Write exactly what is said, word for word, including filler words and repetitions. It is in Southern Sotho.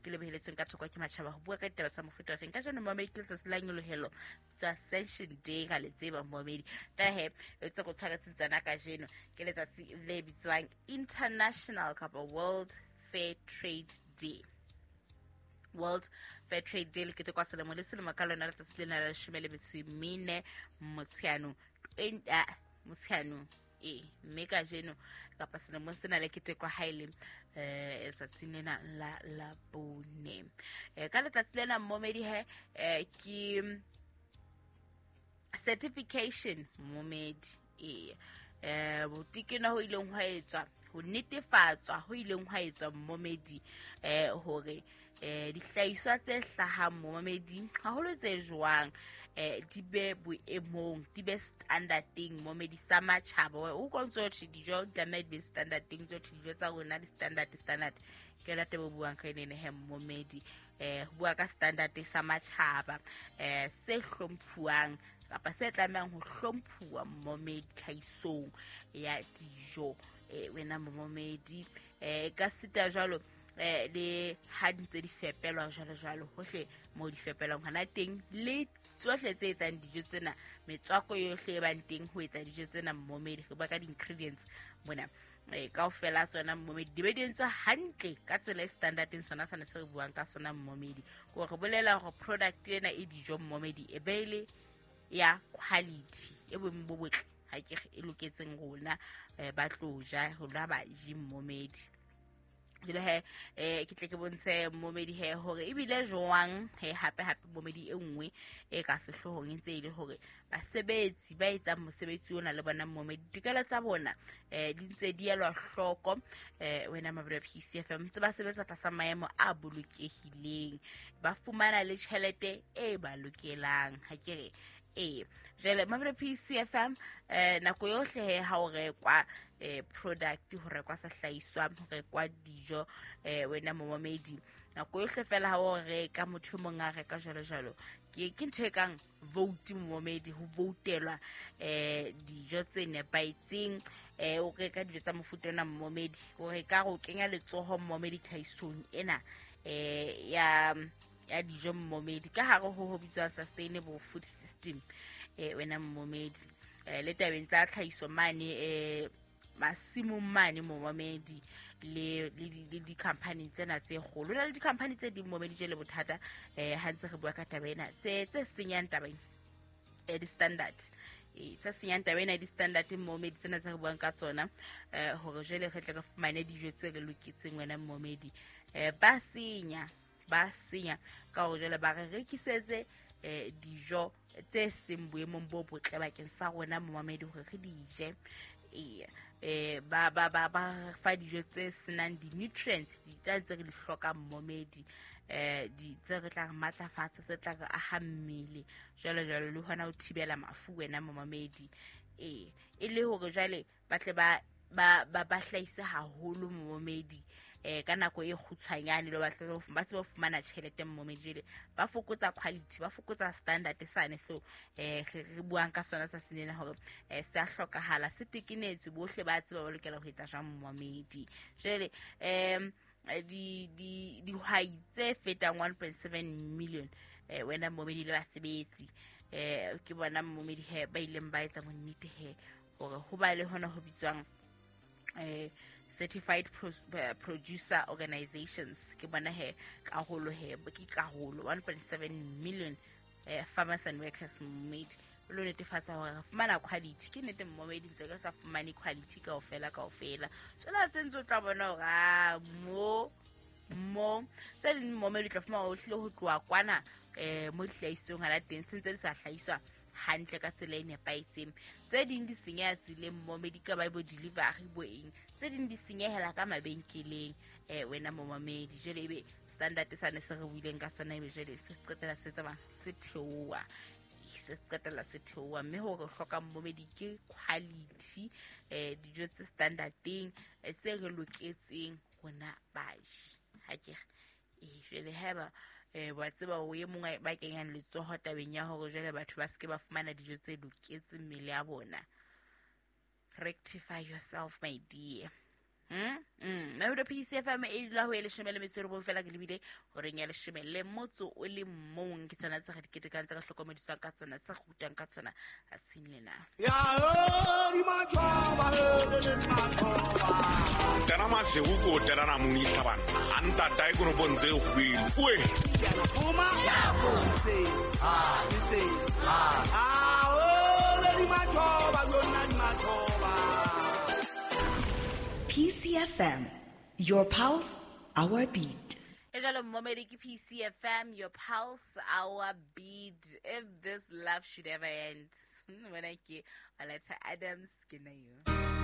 Ke le beheletsweng ka thoko ke matjhaba ho bua ka ditaba tsa mofuta ofeng. Ka jeno momedi ke letsatsi la nyolohelo tsa Ascension Day ka le tseba momedi. Fela he e tse go tshwaretseng tsona kajeno ke letsatsi le bitswang International kapa World Fair Trade Day. World Fair Trade Day le ketekwa selemo le selemo ka lona letsatsi lena la leshome le metso e mene Motsheanong ah, Motsheanong ee mme kajeno kapa selemong sena le ketekwa ha e le eh letsatsing lena la la bone. Eh, ka letsatsi lena momedi he eh, ke certification momedi ee eh botekena ho ileng hwa etswa ho netefatswa ho ileng hwa etswa momedi eh hore eh dihlahiswa tse hlahang momedi haholo tse jwang eh di be boemong di be standardeng momedi sa matjhaba o kontso thwe dijo di tlameha di be standardeng tso thwe dijo tsa rona di standard standard ke yona taba o buang ka ene he momedi eh ho bua ka standard sa matjhaba eh se hlomphuwang kapa se tlamehang ho hlomphuwa momedi tlhahisong ya dijo eh wena momedi eh ka sita jwalo eh le ha di ntse di fepelwa jwalo jwalo hohle mo di fepelwang hona teng le tsohle tse etsang dijo tsena metswako yohle e bang teng ho etsa dijo tsena momedi re bua ka di-ingredients mona eh kaofela tsona momedi di be di entswe hantle ka tsela e standardeng sona sane se re buang ka sona momedi ko re bolela hore product ena e dijo momedi e be le ya quality e boemo bo botle ha ke e loketseng rona eh, ba tlo ja rona baji momedi. Jwale he eh ke tle ke bontshe momedi he hore ebile jwang he hape hape momedi e nngwe e ka sehloohong e ntse e le hore basebetsi ba etsang mosebetsi ona le bona momedi ditokelo tsa bona eh di ntse di elwa hloko eh wena Mabelo P C F M ntse ba sebetsa tlasa maemo a bolokehileng ba fumana le tjhelete e ba lokelang ha ke re ee jwale Mabelo P C F M eh nako yohle he ha o rekwa eh product ho rekwa sehlahiswa ho rekwa dijo eh wena momedi nako yohle fela ha o reka motho e mong a reka jwalo jwalo ke ke ntho e kang vote momedi ho voutelwa eh dijo tse nepahetseng eh o reka dijo tsa mofuta ona momedi o reka go kenya letsoho momedi tlhahisong ena eh ya ya dijo momedi ka hare ho ho bitswa sustainable food system eh wena momedi eh le tabeng tsa tlhahiso mane eh masimong mane momedi le le di-company tsena tse kgolo na le di-company tse ding momedi jele bothata eh ha ntse re bua ka taba ena tse tse senyang taba eh di-standard e tse senyang taba ena di-standard momedi tsena tse re buang ka tsona eh hore jwale re tle re fumane dijo tse re loketseng wena momedi eh ba senya ba senya ka hore jwale ba re rekisetse eh dijo tse seng boemong bo botle bakeng sa rona momedi hore re di je ee eh ba ba ba ba fa dijo tse senang di-nutrients di tsa tse re di hlokang momedi eh di tse re tla re matlafatsa se tla re aha mmele jwalo jwalo le hona ho thibela mafu wena momedi ee e le hore jwale ba tle ba ba ba ba hlahise haholo momedi eh ka nako e kgutshwanyane le ba tle ba tsebe ho fumana tjhelete momedi jwale ba fokotsa quality ba fokotsa standard sane seo eh re buang ka sona sa senena hore eh se a hlokahala se tekenetswe bohle ba tseba ba lokela ho etsa jwang momedi jwale em di di dihwai tse fetang one point seven million eh wena momedi le basebetsi eh ke bona momedi he ba ileng ba etsa bonnete he hore ho ba le hona ho bitswang eh certified pro, uh, producer organizations ke bona he karolo he ke karolo one point seven million eh, farmers and workers made lo netefatsa hore re fumana quality ke nnete momedi ntse re sa fumane quality kaofela kaofela tsona tse ntse o tla bona hore a mo mo tse ding momedi tla fumana o hlile ho tloha kwana eh mo dihlahisong ha la teng se ntse di sa hlahiswa hantle ka tsela e nepahetseng tse ding di senyeha tseleng momedi ka ba bo delivery bo eng tse ding di senyehela ka mabenkeleng eh wena momedi jwale ebe standard sane se re buileng ka sona ebe jwale se qetela se tsamaya se theoha se qetela se theoha mme hore hloka momedi ke quality eh dijo tse standardeng tse re loketseng rona baji ha ke eh jwale haeba eh wa tseba o e mongwe ba kenyang letsoho tabeng ya hore jwale batho ba seke ba fumana dijo tse loketseng mmele ya bona rectify yourself my dear Mm, mm. Mamelodi P C F M e dula ho e leshome le metso e robong fela ke lebile horeng ya leshome le motso o le mong. Ke tsona tse re di ketekang, tse ka hlokomediswang ka tsona, tse re rutang ka tsona. Ha se le na. Ya ho di matjhoba, le matjhoba. Tena masego ko tena na mong itlhabana. A ntata e kono ntse e kgwele. Oe. Fuma. Se. Se. Ah, o le di matjhoba, lona di matjhoba. P C F M, your pulse, our beat. E jalo momedi ke P C F M, your pulse, our beat. If this love should ever end. When I ke Oleta Adams, ke na yo.